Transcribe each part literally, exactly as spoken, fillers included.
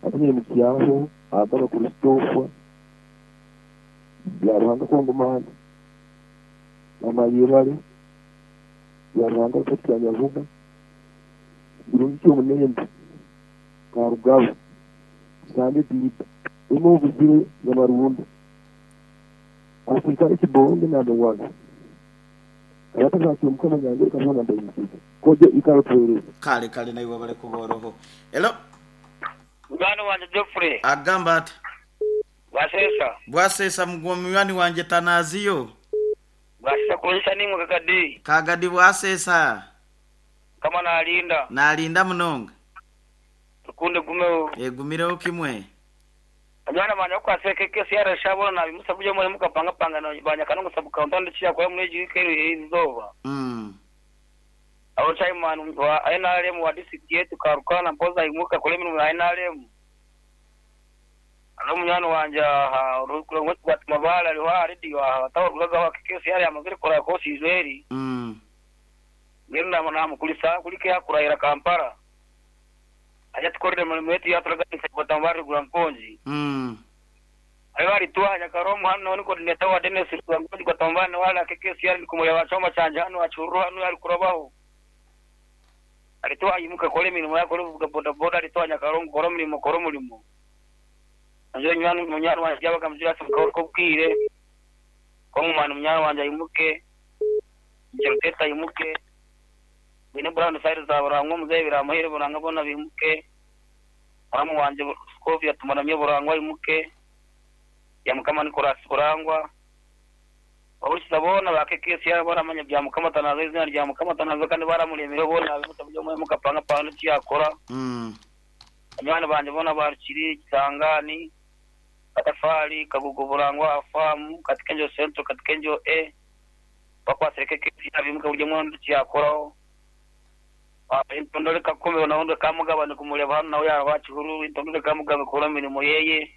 Atumire mukyaho agaba Christopher bya Ruhanga Kongomani mama yebale bya Ruhanga Kyanyavuga birungi ky'omunembe Karugabo Sande Dida imo obuzire Nyamarunda Afrika ekibonge nabewaga abatazakira Omukama nyange kabona ndayimukiza koje ikaro tuhereza. Kale kale naiwe bale kuboroho. Hello. Mugano wanje Geoffrey. Agamba ati Bwasesa. Bwasesa mugwomywani wanje Tanaziyo. Bwasesa kulisha nimwe Kagadi. Kagadi bwasesa. Kama nalinda. Nalinda munonga. Tukunde gumeo. Egumireho kimwe. Ajana banya kwaseke kesi ya rashabona na bimusa buje muri mukapanga panga na banya kanongo sabu kaunti chia kwa mweji kero izova. Mm. Abo chairman wa N R M wa district yetu Karukana mpoza imuka kule minu wa N R M. Alo munyano wanja rukulongo kwa mabala liwa radio atawa wa kesi ya amaziri kora kosi Israeli. Mm. Ngenda na mukulisa kulike akurahira Kampala. Aja tukorere mulimo yetu yaturaganisa batambari gura mkonji. Mm. Ayo alitwanya karomu hano niko netawa Dennis gura mkonji kwa tambani wala kesi yali kumuya wachoma chanja hano achuru hano alikurabaho. Alitoa imuka kole mirimo yako ruvuga boda boda alitwanya karongo koro mirimo koro mulimo. Anjo nyanu munyanu wanje yabaga mjira ko bwire. Ko mwana munyanu wanje imuke. Njero imuke. Bine Brown side za burangwa muzebira muhere buranga bona bimuke. Muramu wanje Skovia tumaramye burangwa imuke. Ya Mukama Nicolas burangwa. Abushiza bona bakekesi yabona manya bya Mukama Tanazo izina rya Mukama Tanazo kandi baramuremere bona bimutabyo mu mukapanga pano cyakora. Mm. Abana banje bona barukiri Kisangani Katafari Kagugu burangwa afamu Katikenjo Central Katikenjo E bakwasereke kesi yabimuka buryo mwondo cyakoraho. Intondole kakombe naondo kamugabane kumuleba hano nawe yabakihuru intondole kamugabe kora mirimo yeye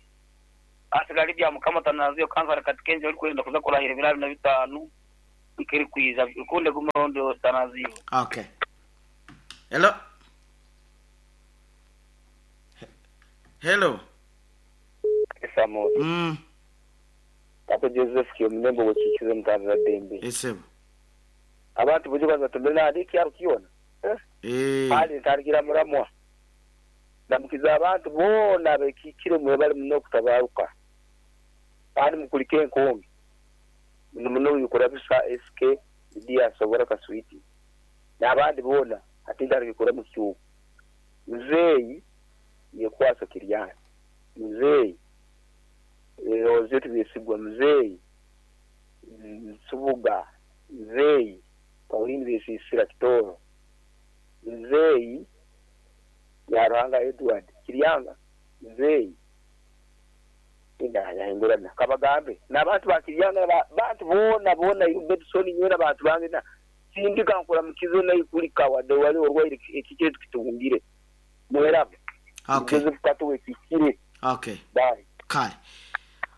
asigali bya Mukama Tanaziyo kansara Katikenjo uri kwenda kuza kurahira ibirari na bitanu ikiri kwiza ukunde gumondo Tanaziyo. Okay. Hello. Hello. Samo. Mm. Tato Joseph kiyo mnembo gochikize mtanza dembe. Esebo. Abantu bujuka tumbena adiki arukiona. Eh. Pali ntarikira muramwa. Ndamukiza abantu bona bekikire mwe bali muno kutabaruka. Bali mukulike enkombi. Muno muno yukurabisa S K Dia sobora kaswiti. N'abandi bona ati ntarikira mu cyuko. Muzeyi yekwasa kiryana. Muzeyi Rozetu besigwa muzeyi Nsubuga muzeyi Pauline besisira kitoro. Mzeyi ya Ruhanga Edward Kiryanga mzeyi indahindurana kabagambe n'abantu ba Kiryanga bantu bona bona Bedson nyona abantu bange na sindika nkora mukizo nayi kuri kawade wali orwaire ekikire tukitungire muherabe. Okay. Joseph Kato ekikire. Okay. Bye. Kale.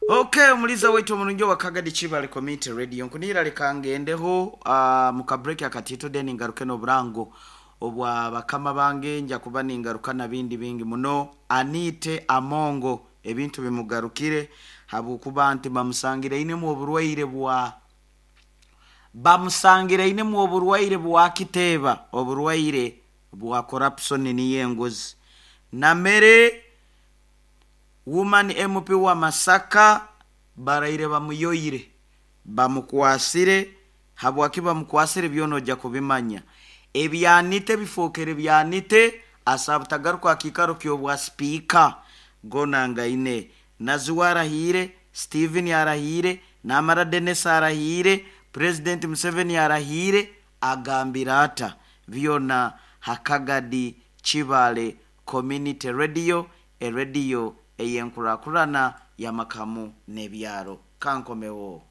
Okay, omuliza wetu omulungi wa Kagadi Chibale Community Radio nkunira lekangendeho uh, muka break akatito then ngaruke no burango obwa bakama bange nja kuba ningaruka na bindi bingi muno. Anite Amongo ebintu bimugarukire habukuba nti bamusangire ine mu oburwaire bwa bamusangire ine mu oburwaire bwa kiteba oburwaire bwa corruption ni yengozi. Namere woman M P wa Masaka baraire bamuyoyire bamukwasire habwaki bamukwasire byonoja kubimanya ebyanite bifokere byanite asabutagaruka akikaro kyobwa speaker gonangaine Naziwa arahire Steven arahire Namara Dennis arahire President Museveni arahire agambira ata byona Hakagadi Chibale Community Radio e radio eyenkurakurana ya makamu nebyaro kankomewo.